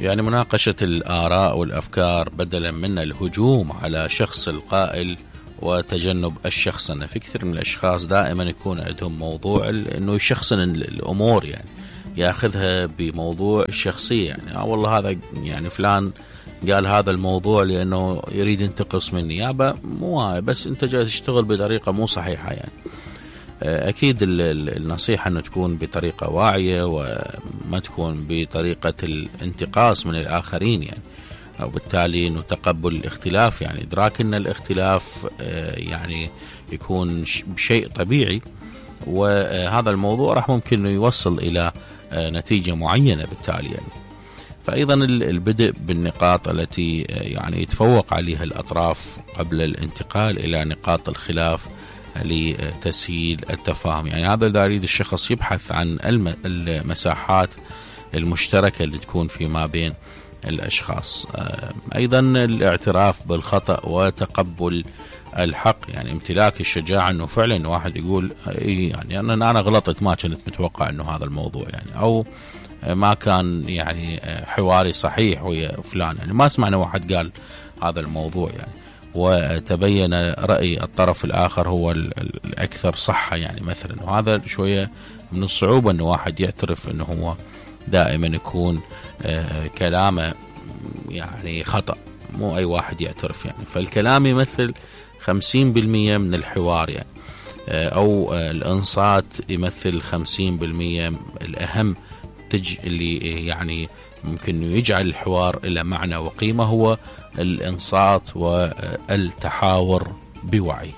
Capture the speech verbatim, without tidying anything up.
يعني مناقشة الآراء والأفكار بدلا من الهجوم على شخص القائل وتجنب الشخصنة. في كثير من الأشخاص دائما يكون عندهم موضوع أنه يشخصن الأمور، يعني يأخذها بموضوع الشخصية، يعني آه والله هذا يعني فلان قال هذا الموضوع لأنه يريد ينتقص مني. يابا مو بس أنت جاي تشتغل بطريقة مو صحيحة. يعني أكيد النصيحة أنه تكون بطريقة واعية وما تكون بطريقة الانتقاص من الآخرين، يعني وبالتالي أنه تقبل الاختلاف، يعني إدراك أن الاختلاف يعني يكون شيء طبيعي، وهذا الموضوع راح ممكن أنه يوصل إلى نتيجة معينة بالتالي. يعني فأيضا البدء بالنقاط التي يعني يتفوق عليها الأطراف قبل الانتقال إلى نقاط الخلاف لتسهيل التفاهم. يعني هذا إذا يريد الشخص يبحث عن المساحات المشتركة اللي تكون فيما بين الأشخاص. أيضا الاعتراف بالخطأ وتقبل الحق، يعني امتلاك الشجاعة أنه فعلا واحد يقول يعني أنا أنا غلطت، ما كنت متوقع أنه هذا الموضوع يعني، أو ما كان يعني حواري صحيح ويا فلان، يعني ما سمعنا واحد قال هذا الموضوع يعني وتبين رأي الطرف الآخر هو الأكثر صحة يعني مثلا. وهذا شوية من الصعوبة أنه واحد يعترف أنه هو دائما يكون كلامه يعني خطأ، مو أي واحد يعترف يعني. فالكلام يمثل خمسين بالمية من الحوار يعني، أو الإنصات يمثل خمسين بالمية الأهم تج اللي يعني ممكن يجعل الحوار إلى معنى وقيمة، هو الإنصات والتحاور بوعي.